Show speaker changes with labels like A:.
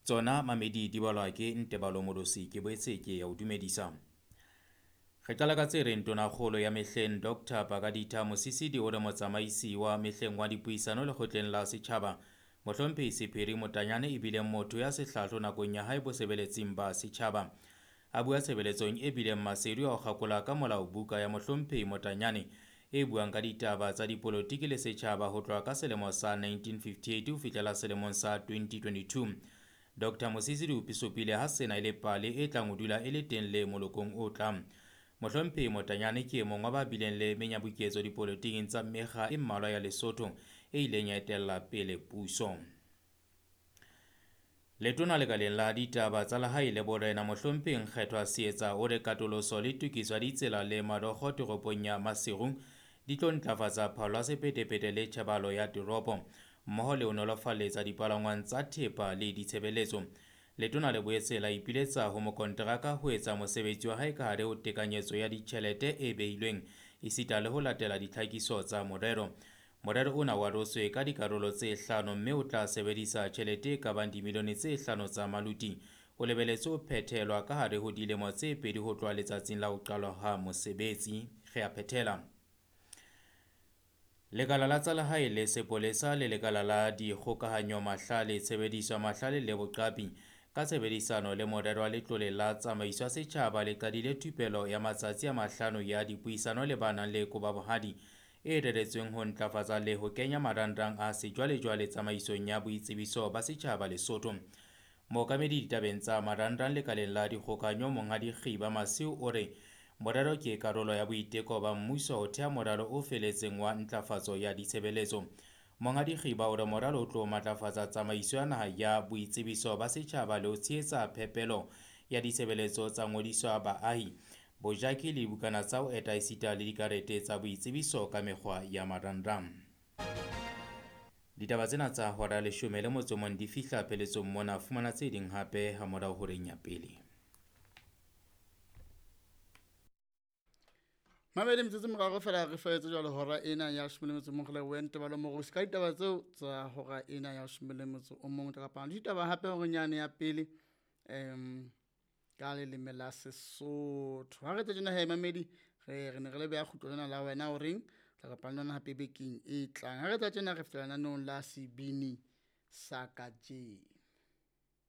A: Tsona mamedi di balwa ke Ntebalo Molosi, ke boetse ke ya o dumedisa. Re qala ka tse reng tonakgolo ya mehleng Dr. Pakaditha Mosisili o re motsamaisi wa mehleng wa dipuisano lekgotleng la setjhaba Mohlomphehi Sephiri Motanyane e bile motho ya sehlahlo nakong ya hae bosebeletsing ba setjhaba. A bua tshebeletsong e bileng maseru ya ho kgakola ka molao buka ya Mohlomphehi Motanyane e buang ka ditaba tsa dipolotiki le setjhaba ho tloha ka selemo sa 1958 ho fihlela selemong sa 2022. Dr. Mosisili o supile ha sena e le pale e tlang ho dula e le teng le molokong o tlang. Mohlomphehi Motanyane ke e mong wa ba bileng le menyabuketso dipolotiking tsa mekga e mmalwa ya Lesotho e ileng ya etella pele puso. Letona lekaleng la ditaba tsa lehae le borena Mohlomphehi Nkgethwa Seetsa o re katoloso le tokiso ya ditsela le marokgo toropong ya Maseru di tlo ntlafatsa phallo ya sephethephethe le tjhebahalo ya toropo mmoho le ho nolofaletsa dipalangwang tsa thepa le ditshebeletso. Letona le boetse la ipiletsa ho mokonteraka ho etsa mosebetsi wa hae ka hare ho tekanyetso ya ditjhelete e behilweng esita le ho latela ditlhakiso tsa morero. Morero ona o arotswe ka dikarolo tse hlano mme o tla sebedisa tjhelete e ka bang dimilione tse hlano tsa maluti. O lebeletswe ho phethelwa ka hare ho dilemo tse pedi ho tloha letsatsing la ho qalwa ha mosebetsi. Re a phethela. Lekala la tsa lehae le sepolesa le lekala la dikgokahanyo mahlale, tshebediso ya mahlale le boqapi ka tshebedisano le morero wa letlole la tsamaiso ya setjhaba le qadile thupelo ya matsatsi a mahlano ya dipuisano le ba nang le kobabohadi e reretsweng ho ntlafatsa le ho kenya marangrang a sejwalejwale tsamaisong ya boitsebiso ba setjhaba Lesotho. Mookamedi ditabeng tsa marangrang lekaleng la dikgokahanyo Monghadi Kgiba Masiu o re morero ke karolo ya boiteko ba mmuso ho thea moralo o feletseng wa ntlafatso ya ditshebeletso. Monghadi Kgiba o re moralo o tlo matlafatsa tsamaiso ya naha ya boitsebiso ba setjhaba le ho tshehetsa phepelo ya ditshebeletso tsa ngodiso ya baahi, bojaki le dibukana tsa ho eta esita le dikarete tsa boitsebiso ka mekgwa ya marangrang. Ditaba tsena tsa hora ya leshome le motso mong di fihla pheletsong mona. Fumana tse ding hape hamorao horeng ya pele.
B: Mamedi metsotso e meraro fela re fetse jwale hora ena ya leshome le metso o mong re lebohe Ntebalo Morusi ka ditaba tseo tsa hora ena ya leshome le metso o mong. Tla kopana le ditaba hape horeng yane ya pele ka leleme la Sesotho. Ha re tse tjena he mamedi re ne re le beha kgutlo lena la wena o reng tla kopana le yona hape bekeng e tlang. Ha re tsa tjena re fetela lenaneong la sebini sa kajeno.